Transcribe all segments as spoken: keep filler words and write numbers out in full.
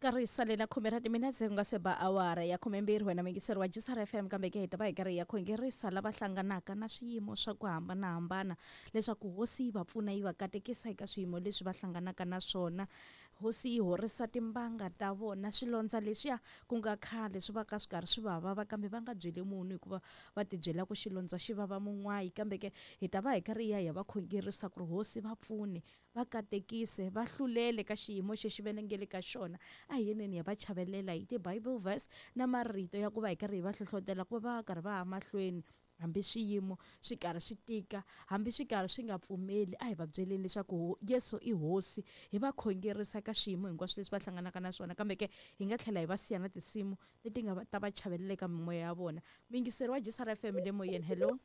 Karhi salela khume ra timinetse ku nga se ba awara ya khumembirhi wena muyingiseri wa G C R F M kambe ke hi ta va hi karhi hi ya khongerisa lava hlanganaka na swiyimo swa ku hambanahambana leswaku hosi yi va pfuna yi va katekisa eka swiyimo leswi va hlanganaka na swona. Hosi yi horisa timbanga ta vona swilondza leswiya ku nga khale swi va ka swi karhi swi va vava kambe va nga byeli munhu hikuva va tibyela ku xilondza xi vava mun'wayi kambe ke hi ta va hi karhi hi ya hi ya va khongerisa ku ri hosi va pfune va katekise va hlulele ka xiyimo xexi va nge le ka xona. A hi yeneni ya va chavelela hi ti-Bible verse na marito ya ku va hi karhi hi va hlohlotela ku va va karhi va ya mahlweni hambi swiyimo swi karhi swi tika hambi swi karhi swi nga pfumeli. A hi va byeleni leswaku Yesu i hosi, hi va khongerisa ka swiyimo hinkwaswo leswi va hlanganaka na swona kambe ke hi nga tlhela hi va siya na tinsimu leti nga ta va chavelela eka mimoya ya vona. Muyingiseri wa G C R F M le moyeni, hello.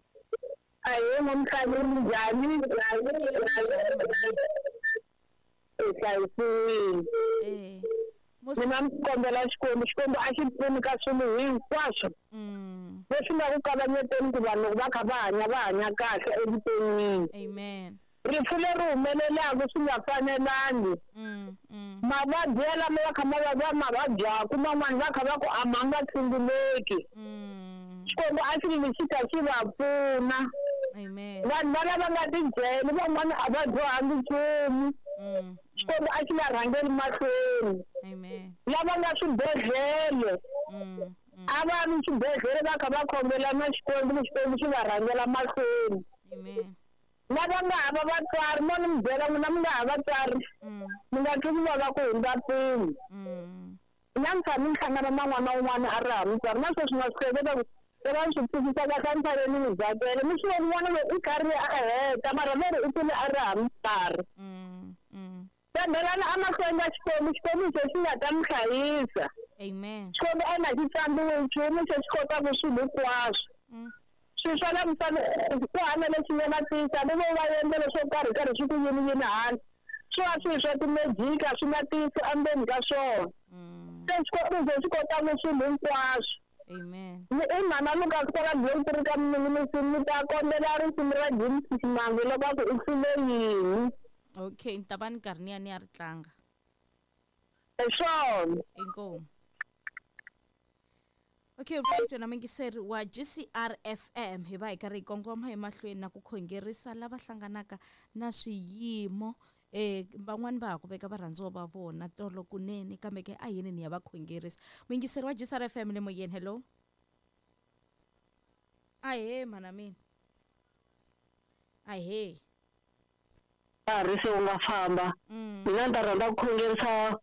Ahee Mamkhani, minjhani? Hi hlayisiwile. Eh. Mina ni kombela Xikwembu, Xikwembu a xi pfuni ka swilo hinkwaswo leswi nga ku kavanyeteni ku vanhu loko va kha va hanya va hanya kahle evuton'wini. Amen. Rifu leri humelelaka swi nga fanelangi, mavabyi yalamo va kha ma va ma vabyaku man'wani va kha va ku a ma nga tshunguleki. Xikwembu a xi xi kha xi va pfuna. Amen. Vanhu va lava nga tibyeli van'wana a va dyohangi nchumu. Xikwembu a xi va rhangeli mahlweni. Amen. Lava nga swibedhlele a va ri swibedhlele va kha va khongela na Xikwembu ni Xikwembu xi va rhangela mahlweni. Amen. Lava nga hava vatswari mo ni mi byela n'wina mi nga hava vatswari mi nga twi ku vava ku hundza mpimo. Namuntlha ni hlangana na n'wana un'wana a ri hava mutswari na sweswi na swi hleketa ku se va swi twisisa kahle emisaveni ni zakele mi swi voni n'wana loyi i karhi a heta mara ve ri i kule a ri hava mutswari. Tshembelana emahlweni ka Xikwembu, Xikwembu xo xi nga ta mi hlayisa. Amen. Xikwembu a na xi tsambiwi nchumu xo xi kotaka swilo hinkwaswo. Swilo swa la misaveni ku hana lexi nga na tiyisa ni vo va endlela swo karhi karhi swi ku yini yini hala swi va swilo swa timejiki a swi na tiyisi endzeni ka swona. Se Xikwembu xo xi kotaka swilo hinkwaswo. Amen. Ni i mhana Lucas kwala Bloemfontein ka Mninginisini ni ta kombela risimu ra James Ximango loko a ku u hlule yini. Okay, ni ta va ni karhi ni ya ni ya ri tlanga. Hi swona. Inkomu. Okay, right, wena muyingiseri wa G C R F M hi va hi karhi hi kongoma emahlweni na ku khongerisa lava hlanganaka na swiyimo. Eh van'wani va ha ku veka varhandziwa va vona tolo kunene kambe ke a yini ni ya va khongerisa. Muyingiseri wa G C R F M le moyeni, hello. Ahee mhana mina. Ahee. Nkarhi se wu nga famba. Mina ni ta rhandza ku khongerisa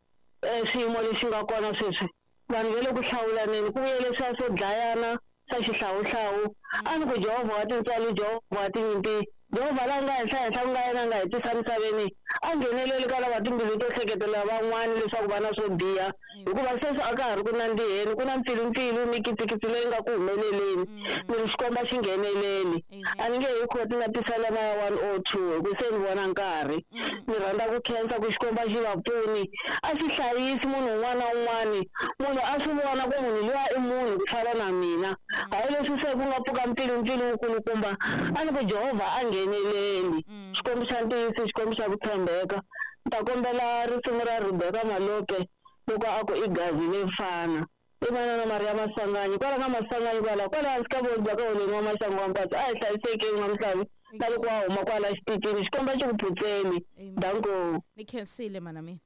xiyimo lexi nga kona sweswi. Vanhu va le ku hlawulaneni ku vuye leswiya swo dlayana swa xihlawuhlawu. A ni ku Jehovha wa tintswalo, Jehovha wa tinyimpi, Jehovha la nga henhla henhla ku nga yena a nga hi tisa misaveni a ngheneleli ka lava timbilu to hleketela van'wani leswaku va na swo biha hikuva sweswi a ka ha ri ku nandziheni ku na mpfilumpfilu ni kitsikitsi leyi nga ku humeleleni ni ri xikomba xi ngheneleli. A ni nge hi khoti na tisalema ya one oh two hi ku se ni vona nkarhi. Ni rhandza ku khensa ku xikomba xi va pfuni a xi hlayisi munhu un'wana na un'wani. Munhu a swi vona ku munhu luya i munhu ku fana na mina hayi leswi se ku nga pfuka mpfilumpfilu wukulukumba a ni ku Jehovha a ngheneleli. Xikwembu xa ntiyiso, Xikwembu xa ku tshembeka. Ni ta kombela risimu ra Rebecca Malope loko a ku i gazi le fana. I manana Maria Masanganyi kwala ka Masanganyi kwala kwala hansi ka voni bya ka holeni wa Maxangu wa Mpatsi a hi hlayisekeni n'wamuhlavi na loko wa huma kwala xitichini Xikwembu a xi ku phutseli. Danko. Ni khensile mana mina.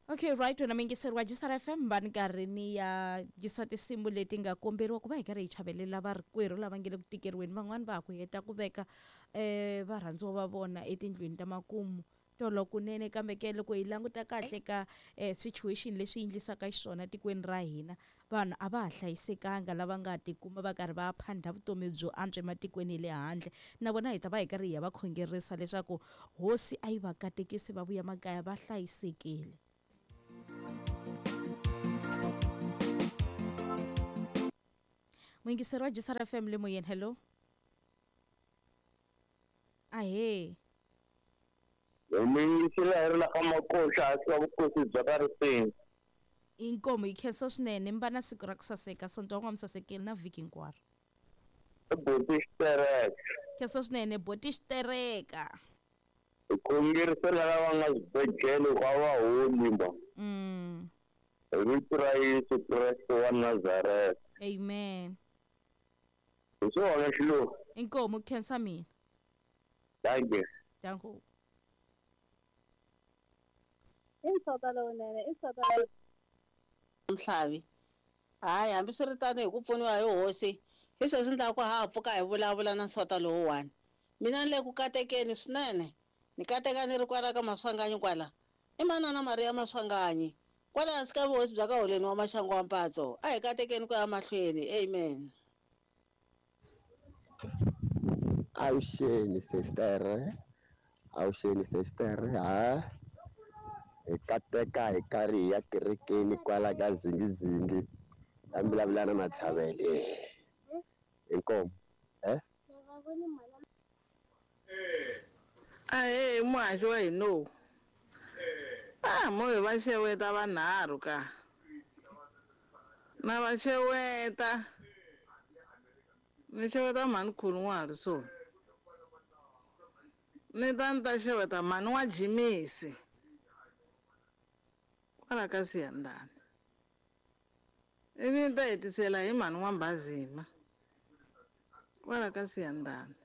Okay, right, wena muyingiseri wa G C R F M va ni karhi ni ya yisa tinsimu leti nga komberiwa ku va hi karhi hi chavelela varikwerhu lava nge le ku tikeriweni. Van'wani va ha ku heta ku veka um varhandziwa va vona etindlwini ta makumu tolo kunene kambe ke loko hi languta kahle ka eh, situation leswi endlisaka xiswona tikweni ra hina vanhu a va ha hlayisekanga lava nga tikuma va karhi va phandha vutomi byo antswa ematikweni ya le handle. Na vona hi ta va hi karhi hi ya va khongerisa leswaku hosi a yi va katekisi va vuya makaya va hlayisekile. Muyingiseri wa G C R F M le moyeni, hello. Ahee. Muyingiseri a ri la ka Makoxa hansi ka vukosi bya ka Riseni. Inkomu yi khensa swinene mi va na siku ra ku saseka sonto wa n'wa mi sasekile na vhiki hinkwaro. I boti xitereka. Khensa swinene boti xitereka. Hi khongerisela lava nga swibedhlele ku a va holi ma. Mm. Hi vito ra Yesu Kreste wa Nazareta. Amen. Hi swona xiluva. Inkomu khensa mina. Thank you. Danko. Mhlavi. Hayi hambiswiritano hi ku pfuniwa hi hosi hi sweswi ndla ku ha pfuka hi vulavula na nsota lowuwani. Mina ni le ku katekeni swinene. Ni kateka ni ri kwala ka Maswanganyi kwala. I manana Maria Maswanganyi. Kwala hansi ka vuhosi bya ka Holeni wa Maxangu wa Mpatso. A hi katekeni ku ya mahlweni. Amen. Avuxeni sister. Avuxeni sister. Ha. Hi kateka hi karhi hi ya kerekeni kwala ka zingizingi. A vulavula na Mathavele. Inkomu. Eh? Ahee muhaxi wa hina. Ah, mo hi va xeweta vanharhu ka. Na va xeweta. Ni xeweta mhani Khulun'wari so. Ni ta ni ta xeweta mhani wa Jimisi. Kwala ka Siyandhani. Ivi ni ta hetisela hi mhani wa Mbazima. Kwala ka Siyandhani.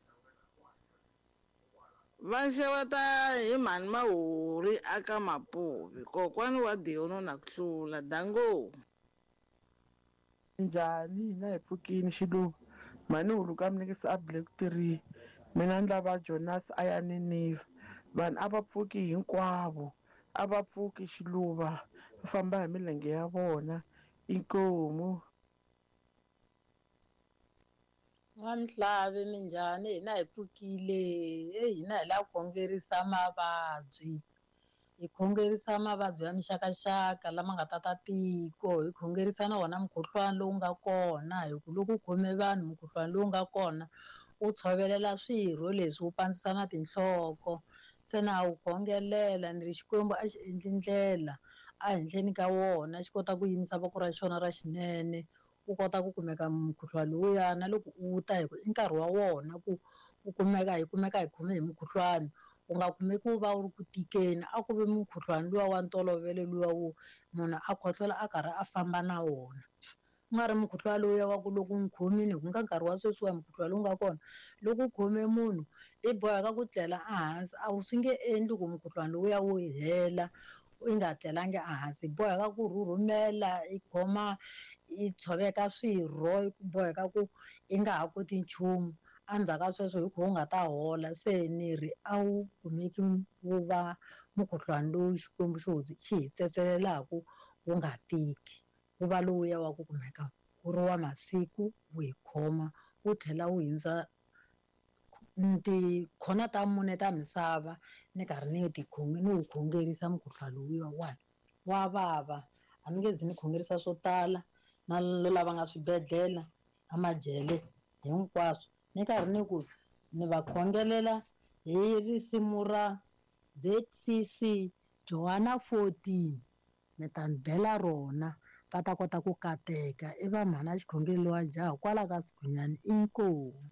Va xeweta hi mhani Mahori aka Mapuvi kokwani wa Diono na ku hlula dango. Njhani hina hi pfukini xiluva mhani huluka mnikisi a black three mina ni lava Jonas a ya Niniva vanhu a va pfuki hinkwavo a va pfuki xiluva va famba hi milenge ya vona inkomu. N'wamhlavi minjhani hina hi pfukile e hina hi lava ku khongerisa mavabyi hi khongerisa mavabyi ya mixakaxaka lama nga tata tiko hi khongerisa na wona mukhuhlwani lowu nga kona hi ku loko u khome vanhu mukhuhlwani lowu nga kona wu tshovelela swirho leswi wu pandzisa na tinhloko se na wu khongelela ni ri Xikwembu a xi endli ndlela a henhleni ka wona xi kota ku yimisa voko ra xona ra xinene u kota ku kumeka mukhuhlwani lowuya na loko u ta hi ku i nkarhi wa wona ku u kumeka hi kumeka hi khome hi mukhuhlwani u nga kumeki wu va wu ri ku tikeni a ku vi mukhuhlwani luwa wa ntolovelo luwa wo munhu a khohlola a karhi a famba na wona ku nga ri mukhuhlwani lowuya wa ku loko n'wi khomile hi ku nga nkarhi wa sweswiwa mukhuhlwani lowu nga kona loko u khome munhu i boheka ku tlela ehansi a wu swi nge endli ku mukhuhlwani lowuya wu hela i nga tlelangi ehansi i boheka ku rhurhumela i khoma i tshoveka swirho i boheka ku i nga ha koti nchumu endzhaku ka sweswo hi ku u nga ta hola se ni ri a wu kumeki wu va mukhuhlwani lowu Xikwembu xi wu xi hi tsetselelaka wu nga tiki wu va lowuya wa ku kumeka wu ri wa masiku wu hi khoma wu tlhela wu hindza tikhona ta mune ta misava ni karhi ni ti ni wu khongerisa mukhuhlwani lowuya wani wa vava a ni nge zi ni khongerisa swo tala na lava nga swibedhlele na majele hinkwaswo ni karhi ni ku ni va khongelela hi risimu ra Z C C Johanna fourteen mi ta ni bela rona va ta kota ku kateka i va mhana xikhongelo wa jaha kwala ka Sighunyani inkomu.